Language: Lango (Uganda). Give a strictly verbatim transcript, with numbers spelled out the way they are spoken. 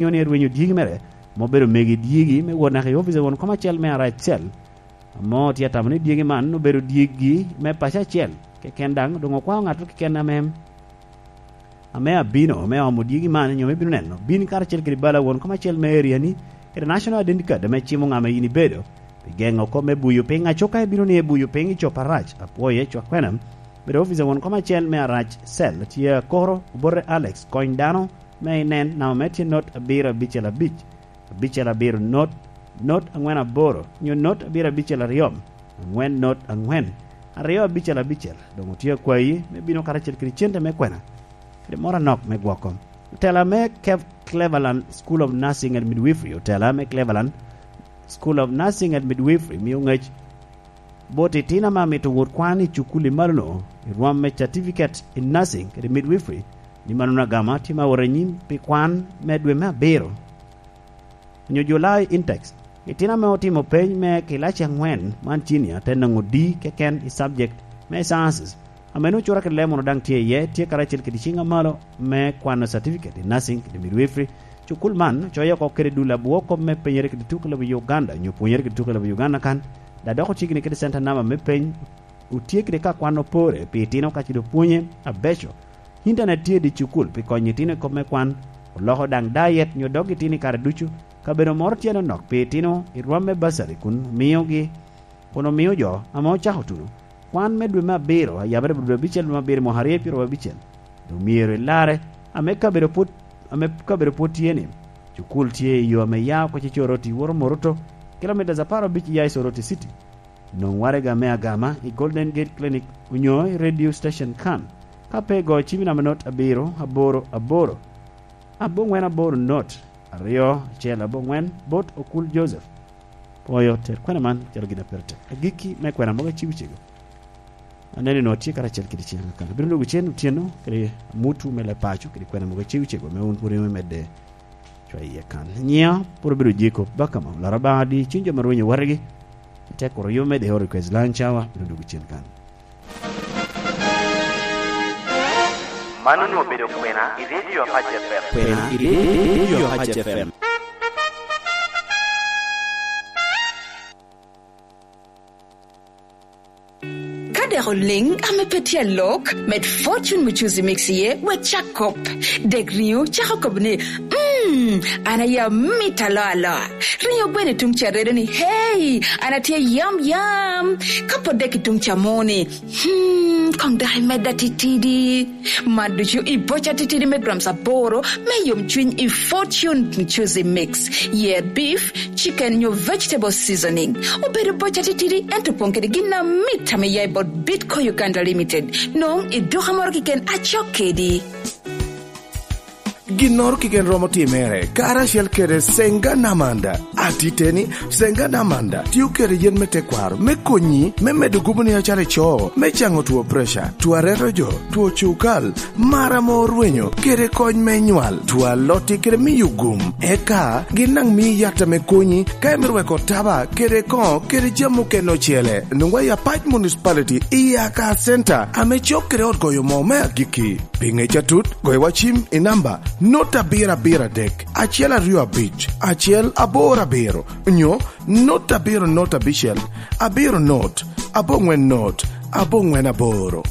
onyo ni erwenyo dyegi mere, ame obedo megi dyegi me wot naka i opic a won kom acel me Arac Cell, ame tye atamo ni dyegi man obedo dyegi me paco acel keken, daŋ doŋ okwao ŋat keken ame, ame abino me omo dyegi man, onyo me bino neno. Bin karacel kede bala won kom acel me area-ni, kede National Identity Card ame cimo ŋa ame yin ibedo, pi geŋo kop me buyo piny. Aco ka ibino ni ibuyo piny i cop arac, apwoye, cwak kwena. Bedo opic a won kom acel me Arac Cell tye akoro, obote Alex, kony dano me inen namba me tye not abiro abicel abic, abicel abiro not, not angwen aboro, onyo not abiro abicel aryo, angwen not angwen, aryo abicel abicel. Doŋ otye akwayi me bino karacel kede cente me kwena, kede moro anok me gwoko. Otela me Kev-, Cleveland School of Nursing and Midwifery, otela me Cleveland School of Nursing and Midwifery mio ŋec bot itino ame amito wot kwan i cukul i malo-nu, i rwom me Certificate in Nursing kede Midwifery, ni mano agama tye ma wot anyim pi kwan me dwe me abiro, onyo July intakes. Itino ame otimo peny me kilaci angwen man, cinia, te nwoŋo D keken i subject me Sciences, ame nwoŋo cura kede lemon daŋ tye iye, tye karacel kede ciŋ amalo me kwano Certificate in Nursing kede Midwifery. Cukul man ocoyo oko kede dul abwor kop me penyere kede tuko i lobo Uganda, onyo pwonyere kede tuko i lobo Uganda kan, da dok ocigni kede center namba me peny, otye kede ka kwan opore pi itino ka ci doŋ pwonye abeco. Intanet tye i dye cukul pi konyo itino i kop me kwan, oloko daŋ diet nyo dog itino i kare ducu. Kabedo moro tye anonok pi itino i rwom me bursary kun miogi, kun omio jo ame ocako tuno kwan me dwe me abiro, a yabere dwe abicel dwe me abiro i mwaka aryo pyeraryo abicel, doŋ myero ilarre, ame kabedo pwod, ame kabedo pwod tye ni, cukul tye i yo ame ya oko i Soroti woto Moruto, kilomitas apar abic ya i Soroti City. Nwoŋ waraga me agama i Golden Gate Clinic onyo i radio station kan. Ka pe igoyo cim i namba not abiro aboro aboro, abongwen aboro not aryo acel abongwen bot Okul Joseph. Pwoyo ter kwena man calo gin a pire tek. Agikki me kwena mogo acibo cego. Aneno ni nwoŋo tye karacel kede ciŋ akan. Abino dwogo cen otyeno kede amutu me leb paco kede kwena mogo acibo cego me wun pwod imedde cwa iye kan. Nyiŋa pwod obedo Jacob Bakama, Olaro Baŋa adi, cuny jo ma rwenyo watigi, te kuro yo me deo request lunch hour, bino dwogo cen kan. Man onwoŋo obedo kwena i Radio Apac F M. Kwena i Radio Apac F M. Ka dek oliŋ ame pe tye alok, med Fortune Mucuzi Mix iye, wek cak kop. Dek riŋo cako kobo ni, "Mm, an aye amit aloa aloa." Riŋo gweno i tuŋ ca redo ni, "Hey, an atye yam yam." Ka pwod dek i tuŋ ca mo ni, "Hmm, koŋ dok imedda titidi." Man ducu i boca titidi me grams aboro me yomcwiny i Fortune Mucuzi Mix. Yer beef, chicken nyo vegetable seasoning. Obedo boca titidi, ento opoŋ kede gin amit ame ya i bot Bitco Uganda Limited. Nwoŋo i duka moro keken acok kedi. Ginnoro keken romo timere, karacel kede Senga Namanda. Atiteni, Senga Namanda tio kede yen me tekwaro me konyi me medo guboni acalo ico, me caŋo two preca, two areto jo, two cukal, mar ame orwenyo, kede kony me nywal, two alotti kede miyo gum. Eka gin daŋ mii yat ame konyi ka imito weko taba kede koŋo kede jami mukene ocele. Nwoŋwa i Apac Municipality i Aka Center ame cok kede ot goyo moo me agikki. Pi ŋec atut, goyo wa cim i namba not abiro abiro adek, acel aryo abic, acel aboro abiro, nyo not abiro not abicel, abiro not, abongwen not, abongwen aboro.